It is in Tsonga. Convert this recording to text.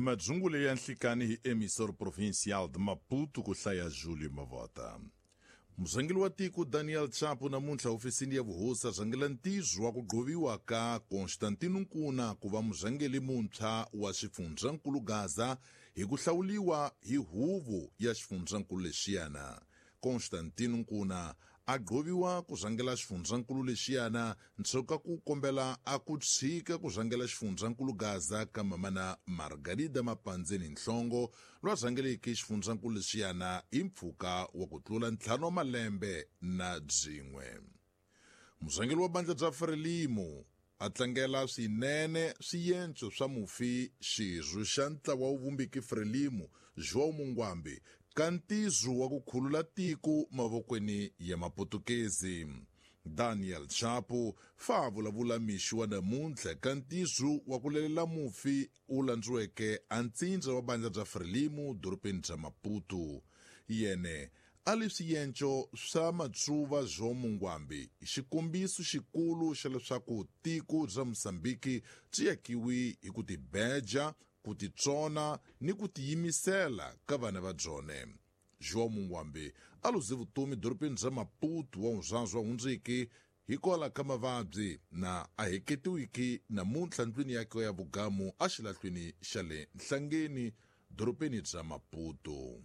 Madzungule ya nhlikani hi Emissor Provincial de Maputo ku hlaya Julio Mavota. Murhangeri wa tiko Daniel Chapo namuntlha hofisini ya vuhosi a rhangela ntirho wa ku gqoviwa ka Constantino Nkuna ku va murhangeri muntshwa wa xifundzankulu Gaza hi ku hlawuliwa hi huvo ya xifundzankulu lexiyana. Constantino Nkuna a gqoviwa ku rhangela xifundzankulu lexiyana ndzhaku ka ku kombela a ku tshika ku rhangela xifundzankulu Gaza ka mamana Margarida Mapandzeni Nhlongo loyi a rhangeleke xifundzankulu lexiyana hi mpfhuka wa ku tlula 5 wa malembe na byin'we. Murhangeri wa bandla bya Frelimo a tlangela swinene swiyenco swa mufi xirho xa ntlawa wu vumbiki Frelimo João Mungwambi ka ntirho wa ku khulula tiko mavokweni ya Maputukezi. Daniel Chapo fa a vulavula mixo wa namuntlha ka ntirho wa ku lelela mufi wu landziweke a ntsindza wa bandla bya Frelimo dorobeni bya Maputo. Yene a li swiyenco swa matsuva João Mungwambi i xikombiso xikulu xa leswaku tiko bya Mozambiki byi yakiwi hi ku tibeja, ku titsona ni ku tiyimisela ka vana va byone. João Mungwambi a luze vutomi dorobeni bya Maputo wa wunzwazi wa hundziki hikwalaho ka mavabyi na a heketiwiki namuntlha ndlwini yakwe ya vugamu exilahlwini xa le Nhlangeni dorobeni bya Maputo.